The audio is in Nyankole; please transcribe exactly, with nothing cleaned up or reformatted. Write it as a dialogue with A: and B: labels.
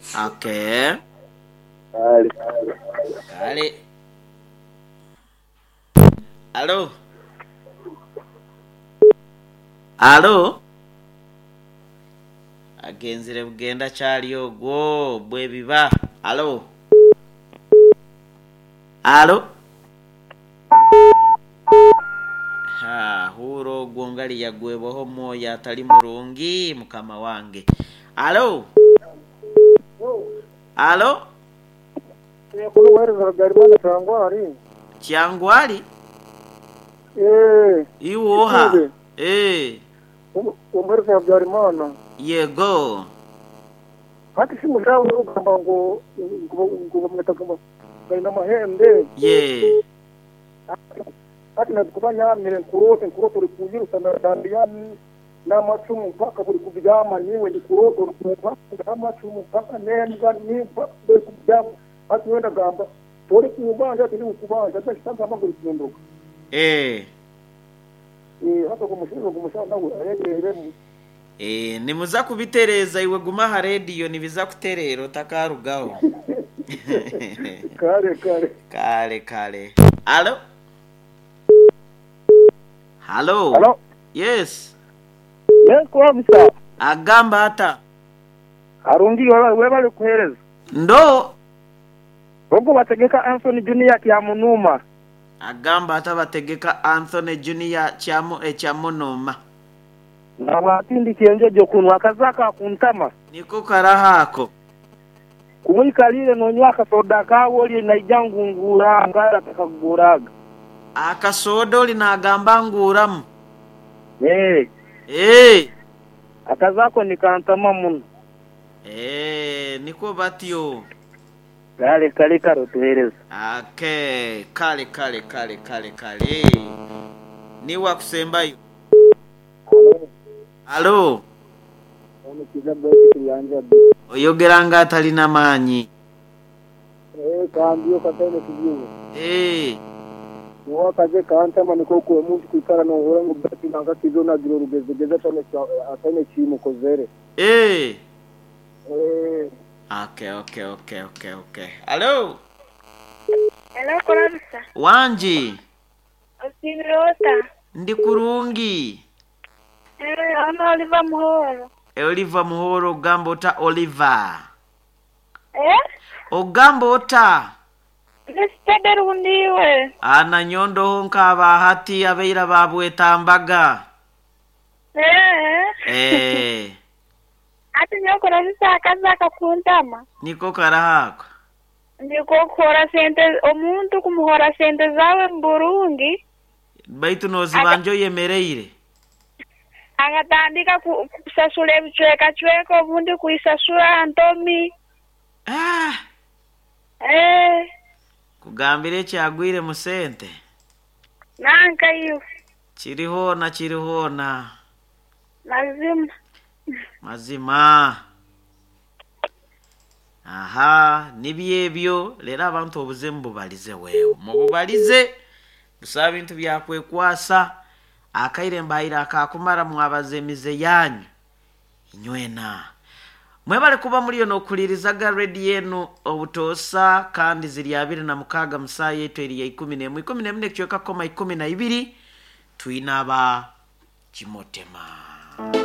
A: Okay.
B: Kale.
A: Kale. Alo. Alo. Agenzire bugenda kyali ogwo bwebiba. Alo. Alo. Ha, huro ogwo ngali yagwebwaho omwoyo atali murungi mukama wange. Alo. Alo.
B: Kunohereza Habyarimana Kyangwari.
A: Kyangwali
B: Eh,
A: iwoha.
B: Ikube.
A: Eh,
B: Umuhereza Habyarimana.
A: yego.
B: Hati si mushawe ugamba ngo ngo ngo bamwita ngo bari n'amahembe.
A: Ye.
B: Hati nakuba nyamire nkurote nkurote uri kuyirusa na dandiyani n'amacumu mpaka buri kubyama niwe ndi kurote uri kumva n'amacumu mpaka nembwa nimba buri kubyama hati wenda gamba tori kubanja ati ndi kubanja ati ngo uri
A: Eh.
B: eh hata kumushinga kumushinga nawe ayegerere
A: Eh, nimuza kubitereza iwe guma aha rediyo nibiza kuterera otakarugaho.
B: kare kare
A: Kale kale. Alo. Halo.
B: Halo.
A: Yes.
B: Yes, kwabisa.
A: Agamba ata.
B: Arungi webale kuhereza.
A: Ndo
B: Ogwo bategeka Anthony Junior Kyamunuma.
A: agamba ata bategeka Anthony Junior kyamu ekyamunuma.
B: Nabwatindi kyenjojo kunwa akazaka akuntama.
A: Niko karahako.
B: Kumwikalire nonywa akasoda kawe oli naija ngungura ngara takaguraga.
A: Akasoda oli nagamba nguramu.
B: Eh,
A: Eh.
B: akazako nikantama muno.
A: Eh, niko batyo.
B: Kale kale karo tuhereza.
A: Okay, kale kale kale kale kale. Niwa kusembayo. Alo,
B: Omukiza bweti kiyanja bi.
A: oyogera nga atalina maanyi.
B: Eh, kambiyo katene kijibu.
A: Eh,
B: Wakaze kantama niko ku omuntu kwikara nohora ngo bati nanga kizo nagira orugezegeza atane atane kimukozere.
A: eh.
B: Eh,
A: Okay, okay, okay, okay, okay. Alo,
C: Hello, Kurabisa.
A: wanji,
C: Osibirota.
A: ndi kurungi.
C: Eh, ana Oliver Muhoro.
A: E Oliver Muhoro ogamba ota Oliver.
C: Eh?
A: Ogamba ota.
C: Nesitede rundiwe.
A: Ana nyondo nkaba hati abeira babwetambaga.
C: Eh.
A: Eh,
C: Ati nyo Kurabisa akazaka kuntama.
A: niko karahako.
C: Ndiko kuhora sente omuntu kumuhora sente zawe mu Burundi
A: Baitu nozibanja oyemereire.
C: akatandika ku- kusasula ebicwekacweka obundi kuisasula ntomi.
A: Ah,
C: Eh,
A: kugambira ekyagwire mu sente.
C: nanka iyo
A: Kirihona kirihona.
C: mazima.
A: Mazima. Aha, nibyo ebyo leero abantu obuze mububalize weewo. Mububalize busaba bintu byakwekwasa akaire mbaire akakumara mwabaza emize yanyu inywena. Mwebale kuba muliyo n'okulirizaga rediyo enu obutoosa kandi ziri abiri na mukaaga musaa yaitu eri ya ikumi n'emwe ikumi n'emwe n'ekicweka koma ikumi na ibiri twine aba kimotema.